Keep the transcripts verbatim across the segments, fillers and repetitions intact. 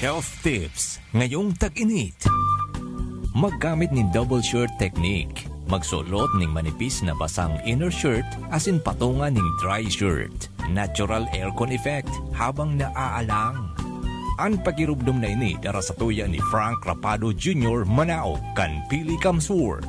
Health tips ngayong tag-init. Maggamit nin double shirt technique. Magsulot ning manipis na basang inner shirt asin patunga ning dry shirt. Natural aircon effect habang naaalang. An pagirubdom na ini dara sa tuya ni Frank Rapado Junior, Manao, kan Pili Kamsur.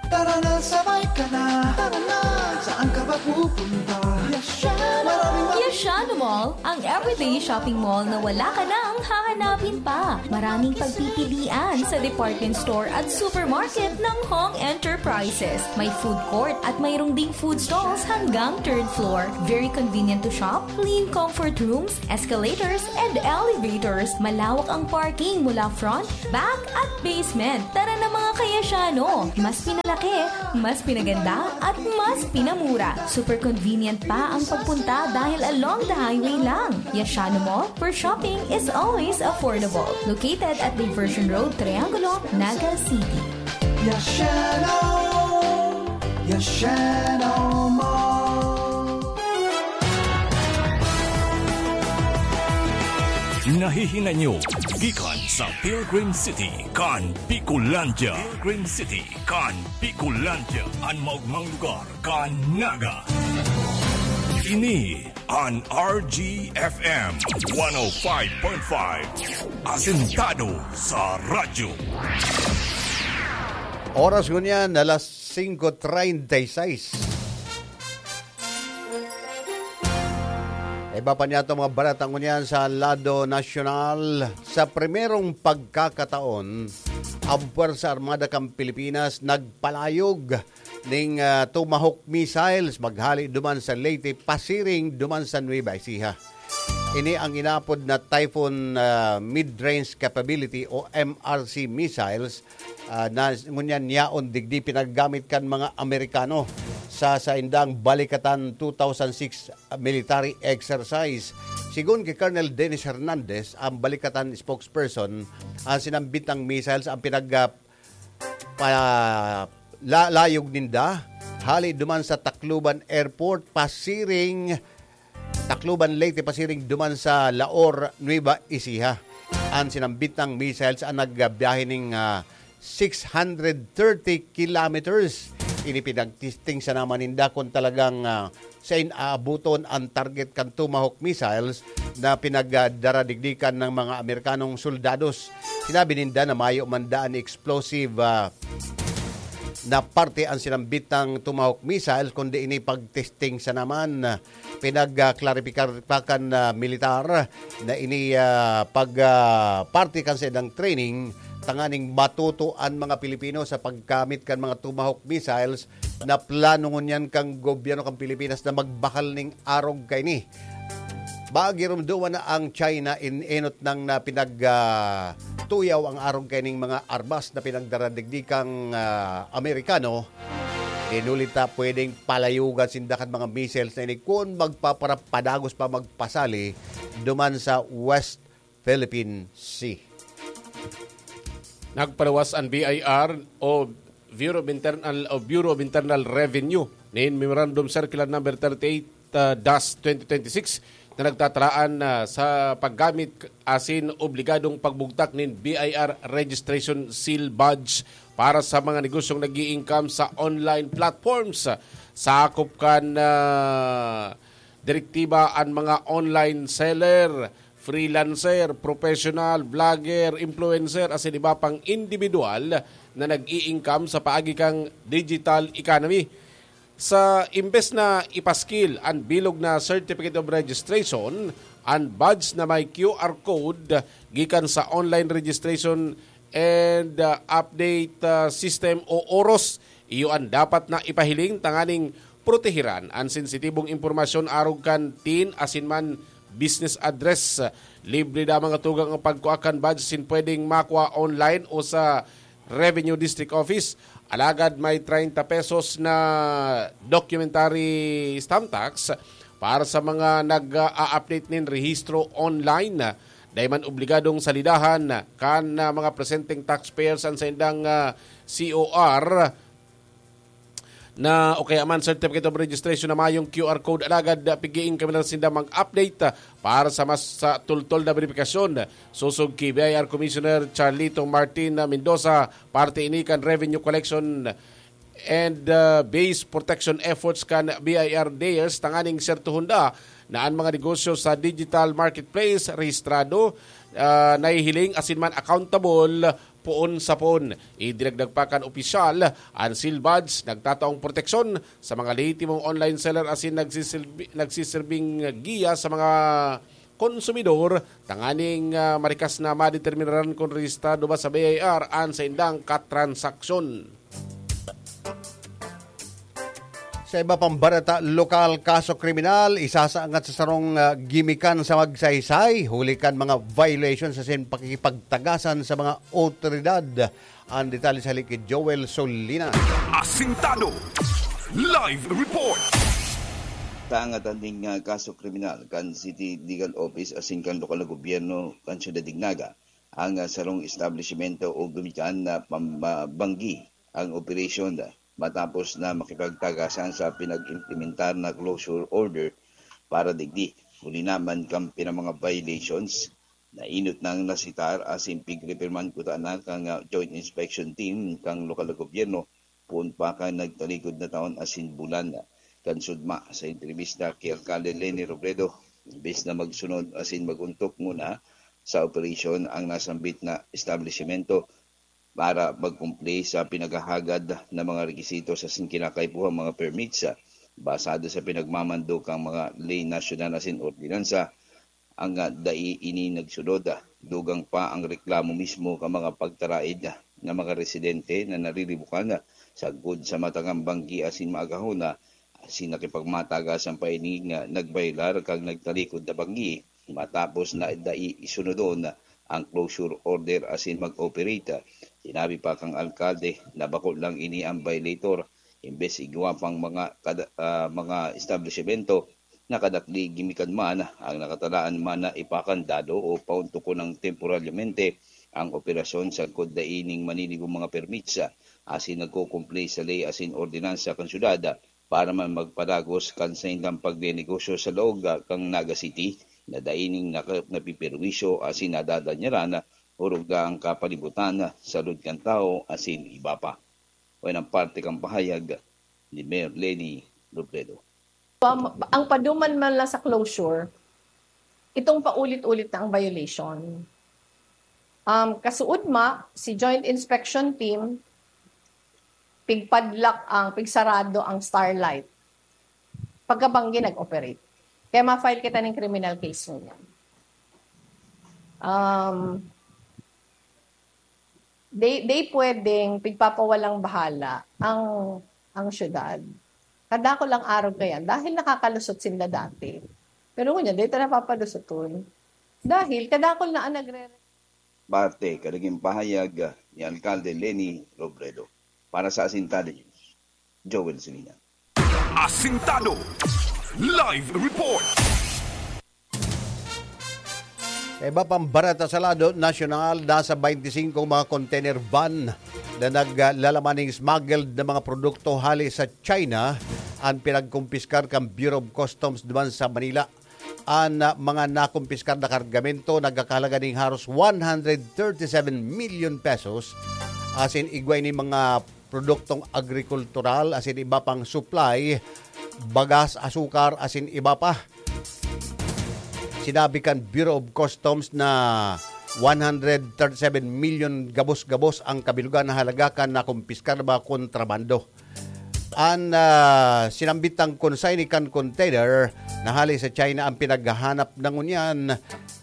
Tara na, sabay ka na. Tara na, saan ka ba pupunta? Yashano! Maraming Yashano Mall, ang everyday shopping mall na wala ka nang hahanapin pa. Maraming pagpipilian sa department store at supermarket ng Hong Enterprises. May food court at mayroong ding food stalls hanggang third floor. Very convenient to shop, clean comfort rooms, escalators, and elevators. Malawak ang parking mula front, back, at basement. Tara na, mga ka-Yashano! Mas pinalaki, mas pinaganda, at mas pinamura. Super convenient pa ang pagpunta dahil along the highway lang. Yashano Mall, where shopping is always affordable. Located at Diversion Road, Triangulo, Naga City. Yashano! Yashano Mall! Nahihinay nyo gikan sa Pilgrim City kan Bicolandia. Pilgrim City kan Bicolandia, an maogmang lugar kan Naga. Ini an R G F M one oh five point five, asentado sa radyo. Oras ngunyan, alas singko treinta y seis. Iba pa niya itong mga balita ngunyan sa lado nasyonal. Sa primerong pagkakataon, ang Puwersa Armada kan Pilipinas nagpalayog ning ah, Tomahawk missiles maghali duman sa Leyte, pasiring duman sa Nueva Ecija. Ini ang inapod na Typhoon ah, Mid-Range Capability o M R C missiles ah, na ngunyan yaon digdi pinagamit kan mga Amerikano sa saindang Balikatan two thousand six military exercise. Sigon ki Colonel Dennis Hernandez, ang Balikatan spokesperson, ang sinambitang missiles ang pinag ah, pa, la, layog ninda hali duman sa Tacloban Airport pasiring Tacloban, Leyte, pasiring duman sa Laor, Nueva Ecija. Ang sinambitang missiles ang nagbiyahe ning ah, six hundred thirty kilometers. Ini pinagtesting sana man ninda kung talagang ah, sa inaabuton ang target kan Tomahawk missiles na pinagdaradigdikan ng mga Amerikanong soldados. Sinabi ninda na mayo man daan explosive ah, na parte ang sinambitang Tomahawk missiles, kundi ini pagtesting sana man. Pinagklaripikar pa kan ah, militar na ini ah, pag ah, parte kan saindang training tanganing matuto an mga Pilipino sa paggamit kan mga Tomahawk missiles na plano ngunyan kan gobyerno kan Pilipinas na magbakal ning arog kaini. Magirumduman na ang China in enot nang na pinag ah, tuyaw ang arog kaining mga armas na pinagdaradigdi kang ah, Amerikano. Inulit ta pwedeng palayugan sinda kan mga missiles na ini kun magpaparapadagos pa magpasali duman sa West Philippine Sea. Nagpaluwas an B I R o Bureau of Internal o Bureau of Internal Revenue nin Memorandum Circular Number thirty-eight dash twenty twenty-six na nagtatalaan na sa paggamit asin obligadong pagbugtak nin B I R registration seal badge para sa mga negosyong nag-i-income sa online platforms. Sakop kan ah, direktiba an mga online seller, freelancer, professional, vlogger, influencer, asin iba pang individual na nag-i-income sa paagi kan digital economy. Sa imbes na ipaskil an bilog na Certificate of Registration, an badge na may Q R code gikan sa online registration and uh, update uh, system o OROS, iyo an dapat na ipahiling tanganing protehiran an sensitibong impormasyon arog kan TIN asin man business address. Libre lamang at tugang ang pagkua kan badge sin pwedeng makua online o sa Revenue District Office. Alagad may treinta pesos na documentary stamp tax para sa mga nag-a-update nin rehistro online. Dai man obligadong salidahan kan mga presenteng taxpayers an saindang ah, C O R. na o kaya man certificate of registration na mayong Q R code, alagad, ah, pigiin kami na sinda mag-update, ah, para sa mas, sa tultol na beripikasyon. Sosog ki B I R Commissioner Charlito Martin Mendoza, parte ini kan revenue collection and, ah, base protection efforts kan B I R DARES, tanganing sertohon da na an mga negosyo sa digital marketplace rehistrado, ah, nahihiling asin man accountable poon sa poon. Idinagdag pa kan opisyal, an Sealed Buds nagtataong proteksyon sa mga lehitimong online seller asin nagsisilbi-, nagsisilbing giya sa mga konsumidor tanganing, ah, marikas na madeterminaran kun rehistrado ba sa B I R an saindang katransaksyon. Sa iba pang bareta, lokal kaso kriminal, isasaangat sa sarong, ah, gimikan sa Magsaysay, huli kan mga violations asin pakikipagtagasan sa mga otoridad. Ang detalye sa hali ki Joel Solinas. Asintado. Live report. Taangat an ning, ah, kaso kriminal kan City Legal Office asin kan lokal na gobyerno kan Syudad nin Naga ang, ah, sarong establisimento o gimikan na pam-, ah, banggi ang operasyon, ah, matapos na makipagtagasan sa pinag-implementar na closure order para digdi. Huli naman kan pinamanga violations, nainot nang nasitar asin pigre-pirman kutana kan, ah, Joint Inspection Team kan lokal na gobyerno, poon pa kan nagtalikod na taon asin bulan. Kan sugma, sa entrebista ki Alkalde Leni Robredo, imbes na magsunod asin mag-ontok nguna sa operasyon ang nasambit na establisimento para mag-comply sa pinaghahagad na mga rekisito asin kinakaipuhang mga permits, ah, basado sa pinagmamando kan mga ley nasyonal asin ordinansa, ang, ah, dai ini nagsunod, ah, dugang pa ang reklamo mismo kan mga pagtaraid, ah, na mga residente na nariribukan, ah, sagkod sa matangang banggi asin maagahon na asin nakipagmatagasan pa ini nga nagbayolar kan nagtalikod na banggi matapos na dai isunodon ang closure order asin mag-operate. Sinabi pa kan alkalde na bako lang ini ang violator, imbes igwa pang mga kada-, ah, mga establisimento na kadakli gimikan man ang nakatalaan man na ipakandado o paontokon ng temporaryamente ang operasyon sagkod dai ning maninigo mga permits, asin nagko-comply sa ley asin ordinansa kan syudad para man magpadagos kan saindang pagnenegosyo sa laog kan Naga City na dai ning naka-, napiperwisyo asin nadadanyaran orog ang kapalibutan, salud kan tawo asin iba pa. Wayan ang parte kan pahayag ni Mayor Leni Robredo. Um, ang paduman man lang sa closure, itong paulit-ulit na ang violation. Um, kasuodma, si Joint Inspection Team, pigpadlak ang, pigsarado ang Starlight. Pagkabanggi nag-operate. Kaya ma-file kita ng criminal case ngunyan. Um, di, di pwedeng pigpapawalang bahala ang, ang syudad. Kadakol ang arog kayan dahil nakakalusot sinda dati. Pero ngunyan, dito napapalusoton. Dahil kadakol na ang nagre- Parte kan naging pahayag ni Alkalde Leni Robredo. Para sa Asintado News, Joel Silinan. Asintado. Live report. Sa iba pang bareta sa lado nasyonal, nasa twenty-five mga container van na naglalaman ning smuggled na mga produkto hali sa China ang pinagkumpiskar kan Bureau of Customs duman sa Manila. An, ah, mga nakumpiskar na kargamento nagkakahalaga ning haros one hundred thirty-seven million pesos, asin igwa ini mga produktong agrikultural asin iba pang supply, bagas, asukar asin iba pa. Sinabi kan Bureau of Customs na one hundred thirty-seven million gabos-gabos ang kabilugan na halaga kan nakumpiskar na mga kontrabando. An, ah, sinambitang consignee kan container na hali sa China ang pinaghahanap na ngunyan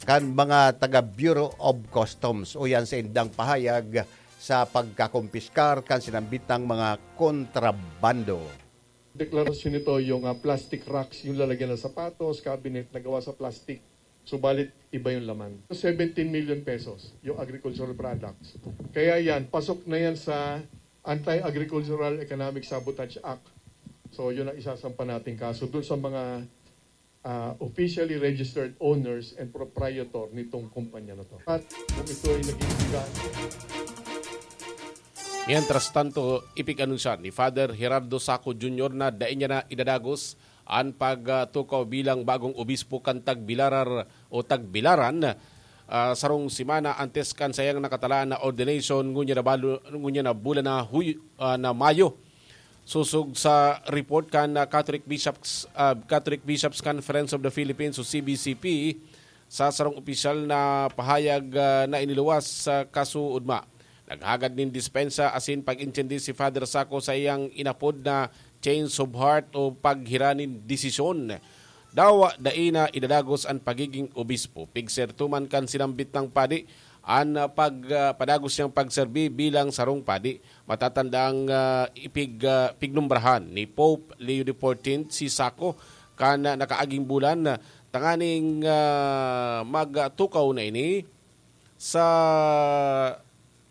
kan mga taga Bureau of Customs. Uyan sa indang pahayag sa pagkakumpiskar kan sinambitang mga kontrabando. Deklarasyon nito yung, ah, plastic racks, yung lalagyan ng sapatos, cabinet na gawa sa plastic. Subalit, iba yung laman. Seventeen million pesos yung agricultural products. Kaya yan, pasok na yan sa Anti-Agricultural Economic Sabotage Act. So, yun ang isasampa nating kaso dun sa mga, ah, officially registered owners and proprietor nitong kumpanya na to. At kung ito ay naging Mientras tanto, ipig-anunsya ni Father Gerardo Saco Junior na dai niya na idadagos an pagtukaw bilang bagong obispo kan Tagbilarar o Tagbilaran, ah, sarong semana antes kan sayang nakatalaan na ordination, ngunyan na balo-, ngunyan na bulan na Huy-, ah, na Mayo. Sosog sa report kan, ah, Catholic Bishops, ah, Catholic Bishops Conference of the Philippines o C B C P, sa sarong opisyal na pahayag, ah, na iniluwas sa kasuodma. Naghagad nin dispensa asin pag-intindi si Father Saco sa iyang inapod na change of heart o paghira nin desisyon. Dawa dai na idadagos an pagiging obispo. Pigserto man kan sinambit nang padi an, ah, pag, ah, padagos niyang pagserbi bilang sarong padi. Matatandang, ah, ipig-, ah, pignumbrahan ni Pope Leo the fourteenth si Saco kan, ah, nakaaging bulan, ah, tanganing, ah, magtukaw na ini sa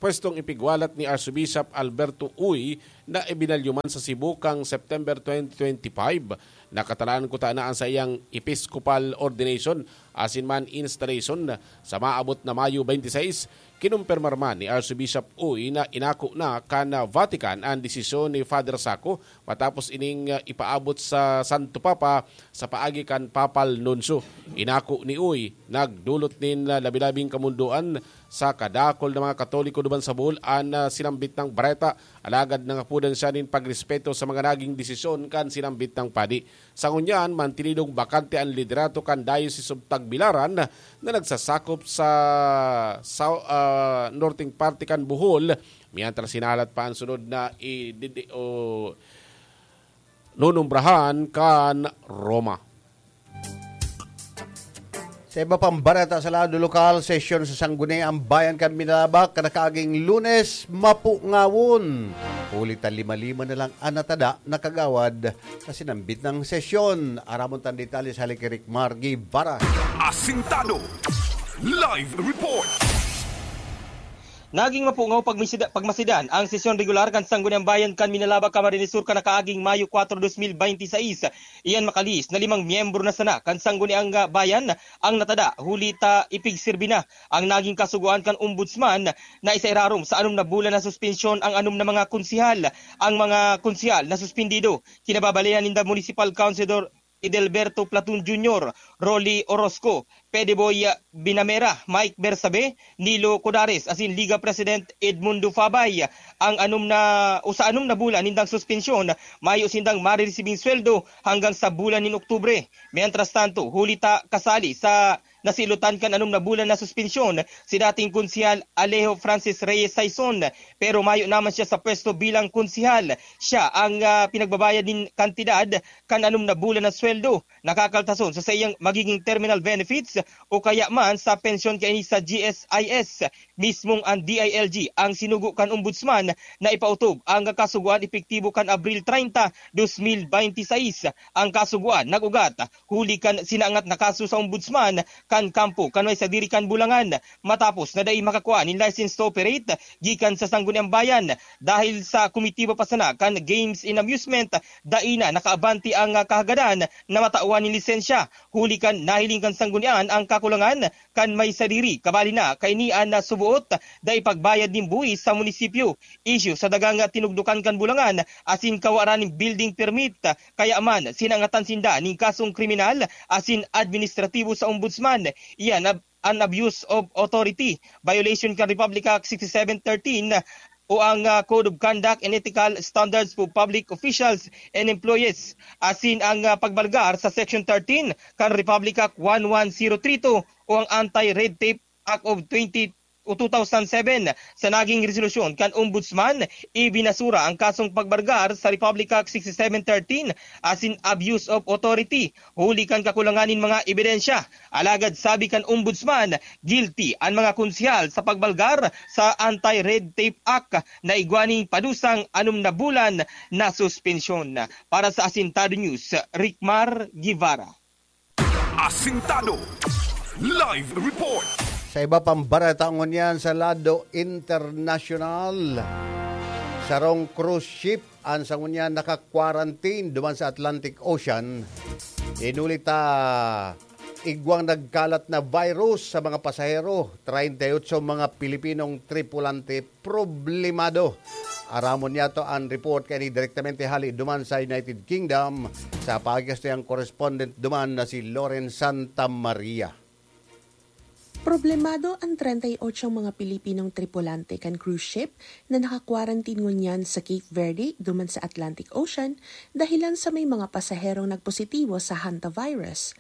pwestong ipigwalat ni Archbishop Alberto Uy na ibinalyo man sa Cebu kan September twenty twenty-five. Nakatalaan kuta na an saiyang episcopal ordination asin man installation sa maabot na Mayo twenty-six. Kinumpirmar man ni Archbishop Uy na inako na kan Vatican an desisyon ni Father Saco matapos ining, ah, ipaabot sa Santo Papa sa paagi kan Papal Nuncio. Inako ni Uy, nagdolot nin, ah, labi-labing kamondoan sa kadakul na mga Katoliko duman sa Bohol an, ah, sinambit nang bareta, alagad nangapodan siya nin pagrespeto sa mga naging desisyon kan sinambit nang padi. Sa ngunyan, mantinidong bakante an liderato kan Diocese of Tagbilaran na nagsasakop sa, sa, ah, norteng parte kan Bohol, mientras hinahalat pa an sunod na i-, didi-, o, nonumbrahan kan Roma. Sa iba pang bareta sa lado lokal, sesyon sa Sangguniang Bayan kan Minalabac, kan nakaaging Lunes, mapungawon. Huli ta lima-lima na lang an natada na kagawad sa sinambit nang sesyon. Aramon tan detalye sa hali ki Rick Mar Guevara. Asintado. Live report. Naging mapungaw pagmisida-, pagmasidan ang sesyon regular kan Sangguniang Bayan kan Minalabac, Camarines Sur, kan nakaaging Mayo kuwatro, dos mil baynte sais. Iyan makalihis na limang miyembro na sana kan Sangguniang, ah, Bayan ang natada, huli ta ipigsirbi na ang naging kasugoan kan Ombudsman na isairarom sa anom na bulan na suspensyon ang anom na mga konsehal. Ang mga konsehal na suspendido, kinababalihan ninda Municipal Councilor Edelberto Platon Junior, Rolly Orozco, Pediboy Binamera, Mike Bersabe, Nilo Codares, asin Liga President Edmundo Fabay. Ang anom na, o sa anom na bulan nindang suspensyon, mayo sindang mariresibing sweldo hanggang sa bulan nin Oktubre. Mientras tanto, huli ta kasali sa nasilotan kan anom na bulan na suspensyon si dating Konsehal Alejo Francis Reyes Saison, pero mayo naman siya sa pwesto bilang konsehal. Siya ang, ah, pinagbabayad nin kantidad kan anom na bulan na sweldo na kakaltason sa saiyang magiging terminal benefits o kaya man sa pensyon kaini sa G S I S. Mismong ang D I L G ang sinugo kan Ombudsman na ipautob ang kasugoan epektibo kan Abril treinta, dos mil baynte sais. Ang kasugoan nag-ugat huli kan sinaangat na kaso sa Ombudsman kan kampo kan may sadiri kan Bulangan, matapos na dai makakua nin license to operate gikan sa Sangguniang Bayan. Dahil sa komitiba pa sana kan Games and Amusement, dai na nakaabante ang, ah, kahagadan na matawan nin lisensya. Huli kan nahiling kan Sanggunian ang kakulangan kan may sadiri, kabali na kaini an nasubuot, dai pagbayad nin buhis sa munisipyo, isyu sa dagang tinugdokan kan Bulangan, asin kawaran nin building permit. Kaya man, sinangatan sinda nin kasong kriminal asin administratibo sa Ombudsman. Iyan ab-, an abuse of authority, violation kan Republic Act sixty-seven thirteen, o ang, ah, Code of Conduct and Ethical Standards for Public Officials and Employees, asin ang, ah, pagbalgar sa Section thirteen kan Republic Act one one zero three two o ang Anti-Red Tape Act of twenty o two thousand seven. Sa naging resolusyon kan Ombudsman, ibinasura ang kasong pagbalgar sa Republic Act sixty-seven thirteen asin abuse of authority, huli kan kakulangan nin mga ebidensya. Alagad sabi kan Ombudsman, guilty an mga konsehal sa pagbalgar sa Anti-Red Tape Act na igwa nin padusang anom na bulan na suspensyon. Para sa Asintado News, Rickmar Guevara. Asintado. Live report. Sa iba pang bareta ngunyan sa lado internasyonal, sarong cruise ship an sa ngunyan naka-quarantine duman sa Atlantic Ocean. Inuli ta igwang nagkalat na virus sa mga pasahero, treinta y ocho mga Pilipinong tripulante problemado. Aramon niyato an report kaini direktamente hali duman sa United Kingdom, sa paagi kan saiyang correspondent duman na si Loren Santa Maria. Problemado an treinta y ocho mga Pilipinong tripulante kan cruise ship na naka-quarantine ngunyan sa Cape Verde duman sa Atlantic Ocean dahilan sa may mga pasaherong nagpositibo sa hantavirus.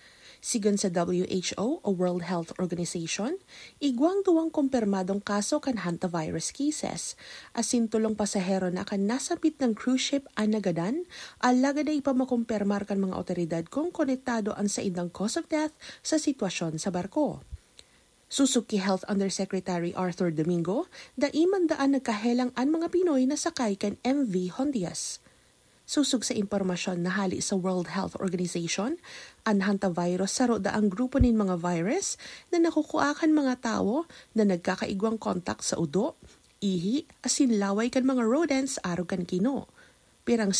Sigon sa W H O o World Health Organization, igwang duwang kumpirmadong kaso kan hantavirus cases, asin tolong pasahero na kan nasambit na cruise ship an nagadan, alagad dai pa makumpirmar kan mga awtoridad kung konektado an saindang cause of death sa sitwasyon sa barko. Sosog ki Health Undersecretary Arthur Domingo, dai man daan nagkahelang an mga Pinoy na sakay kan M V Hondias. Sosog sa impormasyon na hali sa World Health Organization, an hantavirus saro daang grupo nin mga virus na nakukua kan mga tawo na nagkakaigwang kontak sa udo, ihi, asin laway kan mga rodents arog kan kino. Pirang